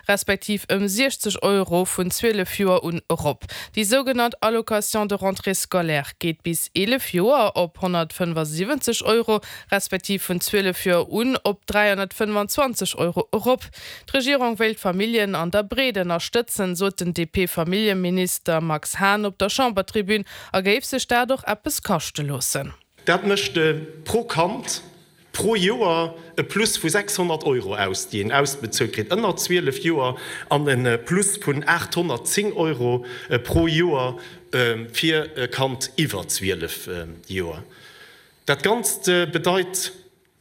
respektiv ëm 60 Euro vun 12 Joer un erop. Déi sougenannt Allocation de rentrée scolaire geet bis 11 Joer op 175 Euro, respektiv vun 12 Joer un op 325 Euro erop. D'Regierung wéilt d'Familljen an der Breet ënnerstëtzen, sot den DP-Familljeminister Max Hahn op der Chambertribün a géif sech dat och eppes kaschte loossen. Dat mécht pro Kand pro Joer e Plus vu 600 Euro aus, déi een ausbezuelt kritt ënner 12 Joer, an e Plus vun 810 Euro pro Joer fir e Kand iwwer 12 Joer. Dat Ganzt bedeit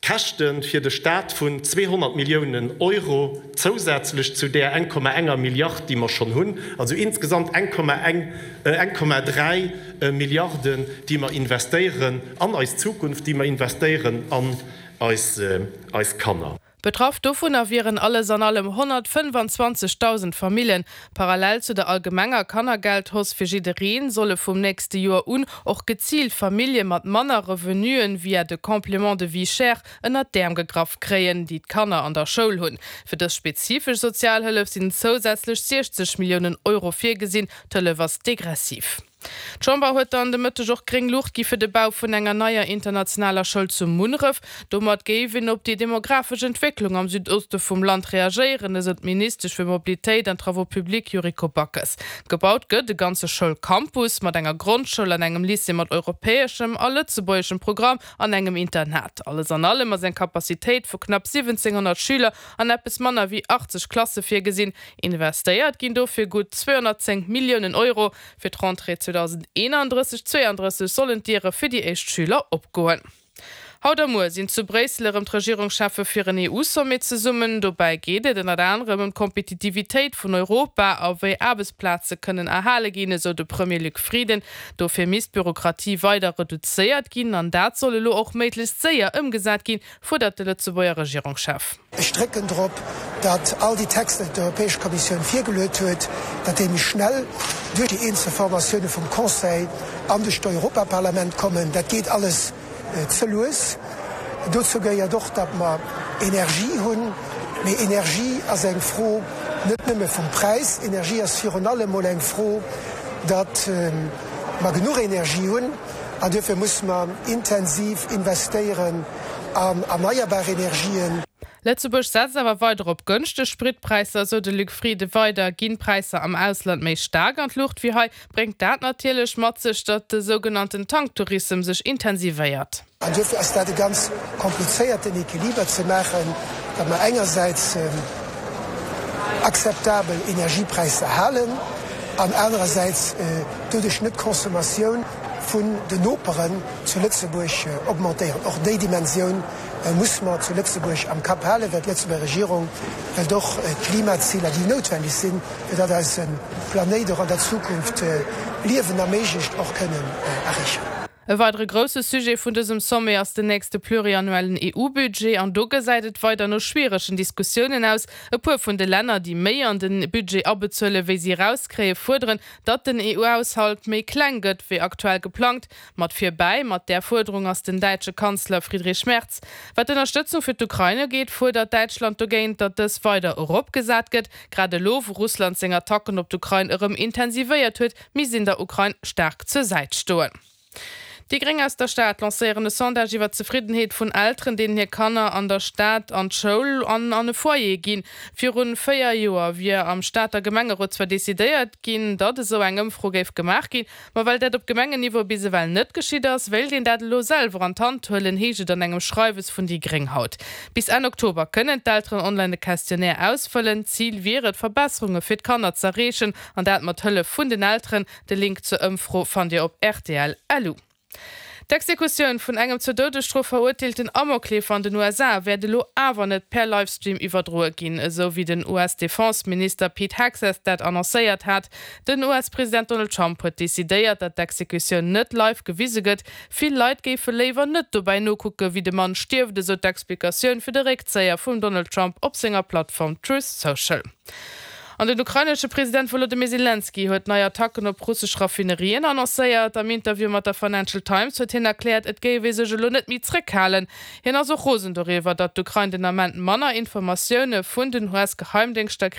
Käschte fir de Staat vun 200 Milliounen Euro zousätzlech zu där 1,enger Milliard, déi mer schonn hunn, also insgesamt 1,3 Milliarden, déi mer investéieren an eis Zukunft, déi mer investéieren an eis Kanner. Betraff dovunner wieren alles an allem 125.000 Famillen. Parallel zu der allgemenger Kannergeldhausse fir jiddereen, solle vum nächste Joer un och geziilt Famillje mat manner Revenuen via de Complément de vie chère ënnert d'Äerm gegraff kréien, déi d'Kanner an der Schoul hunn. Fir dës spezifesch Sozialhëllef sinn zousätzlech 60 Milliounen Euro virgesinn. D'Hëllef ass degressiv. D'Chamber huet dann de Mëtteg och gréng Luucht gi fir de Bau vun enger neier internationaler Schoul zu Munneref. Domat géif een op déi demografesch Entwécklung am Südoste vum Land reagéieren, esou d'Ministesch fir Mobilitéit an Travaux publics Yuriko Backes. Gebaut gëtt e ganze Schoulcampus mat enger Grondschoul an engem Lycée mat europäeschem a lëtzebuergeschem Programm an engem Internat. Alles an allem ass eng Capacitéit vu knapp 1.700 Schüler an eppes manner wéi 80 Klasse virgesinn. Investéiert ginn dofir gutt 210 Milliounen Euro. Fir d'Rentrée 2031, 32 sollen d'Diere fir déi éischt Schüler opgoen. Haut a muer sinn zu Bréissel erëm d'Regierungscheffe fir en EU-Sommet zesummen. Dobäi geet et ënnert anerem ëm d'Kompetitivitéit vun Europa a wéi Aarbechtsplaze kënnen erhale ginn, esou de Premier Luc Frieden. Dofir misst d'Bürokratie weider reduzéiert ginn an dat soll elo och méiglechst séier ëmgesat ginn, fuerdert de Lëtzebuerger Regierungschef. Ech drécken drop, datt all déi Texter, déi d'Europäesch Kommissioun virgeluet huet, datt déi méi schnell duerch déi eenzel Formatioune vum Conseil an duerch d'Europaparlament kommen. Dat geet alles ze lues. Dozou gehéiert och, datt mer Energie hunn. Mee Energie ass eng Fro net nëmme vum Präis. Energie ass virun allem mol eng Fro, datt mer genuch Energie hunn. An duerfir musse mer intensiv investéieren an erneierbar Energien. Lëtzebuerg setzt awer weider op gënschteg Spritpräisser, esou de Luc Frieden. Weider ginn d'Präisser am Ausland méi staark an d'Luucht wéi hei, bréngt dat natierlech mat sech, datt de sougenannten Tanktourissem sech intensivéiert. An duerfir ass dat e ganz komplizéierten Equiliber ze maachen, datt mer engersäits akzeptabel Energiepräisser halen an anerersäits doduerch net d'Consommatioun vun den Noperen zu Lëtzebuerg augmentéieren. Och déi Dimensioun muss mer zu Lëtzebuerg am Kapp halen, well d'Lëtzebuerger Regierung wëllt och d'Klimaziler, déi noutwendeg sinn, fir datt eise Planéit och an der Zukunft Liewen erméiglecht, och kënnen erreechen. E weidere grousse Sujet vun dësem Sommet ass den nächste pluriannuellen EU-Budget. An do gesäit et weider no schwieregen Diskussiounen aus. E puer vun de Länner, déi méi an de Budget abezuelen, wéi si erauskréien, fuerderen, datt den EU-Haushalt méi kleng gëtt, wéi aktuell geplangt. Mat virbäi mat där Fuerderung ass den däitsche Kanzler Friedrich Merz. Wat d'Ënnerstëtzung fir d'Ukrain ugeet, fuerdert Däitschland dogéint, datt dës weider eropgesat gëtt. Grad elo, wou Russland seng Attacken op d'Ukrain erëm intensivéiert huet, misst een der Ukrain staark zur Säit stoen. Déi Gréng aus der Stad lancéieren e Sondage iwwer d'Zefriddenheet vun Elteren, deenen hir Kanner an der Stad an d'Schoul an an e Foyer ginn. Virun 4 Joer wier am Stater Gemengerot zwar decidéiert ginn, datt esou eng Ëmfro géif gemaach ginn, ma well dat op Gemengenniveau bis ewell net geschitt ass, wéilt een dat elo selwer an d'Hand huelen, heescht et an engem Schreiwes vun déi Gréng haut. Bis Enn Oktober kënnen d'Elteren online e Questionnaire ausfëllen. Zil wier et, Verbesserunge fir d'Kanner z'erreechen, an dat mat Hëllef vun den Elteren. De Link zur Ëmfro fannt Dir op rtl. Lu. D'Exekutioun vun engem zur Doudesstrof verurteelten Amokleefer an den USA wäert elo awer net per Livestream iwwerdroe ginn, esou wéi den US-Defense-Minister Pete Hegseth dat annoncéiert hat. Den US-President Donald Trump huet decidéiert, datt d'Exekutioun net live gewise gëtt. Vill Leit géife léiwer net dobäi nokucke wéi de Mann stierft, esou d'Explikatioun fir de Réckzéier vum Donald Trump op senger Plattform Truth Social. An den ukrainesche President Wolodymyr Selenskyj huet nei Attacken op russesch Raffinerien annoncéiert. Am Interview mat der Financial Times huet hien erkläert, et géif ee sech elo net méi zréckhalen. Hien ass och rosen doriwwer, datt d'Ukrain den Ament manner Informatioune vun den US-Geheimdéngschter kritt.